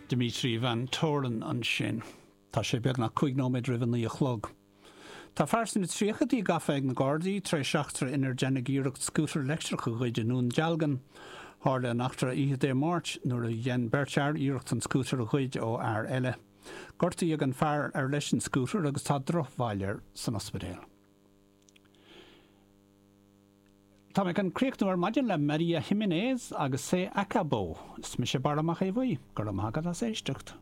Dimitri Van Toren ansin. Tá sé beagnach 5 nóiméad roimh a 9 a chlog. Tá fear sna tríochaidí gafa ag na Gardaí tar éis eachtra inar deineadh iarracht scútar leictreach a ghoid i nDún Dealgan. Tharla an eachtra oíche Dé Máirt nuair a dhein beirt fhear iarracht an scútar a ghoid ó fhear eile. Gortaíodh an fear ar leis an scútar agus tá drochbhail air san ospidéal. Tá mé chun críochnú ar maidin le Maria Jiménez agus Se Acabó. Is mise Barra Mac Aodha Bhuí. Go raibh maith agat as éisteacht.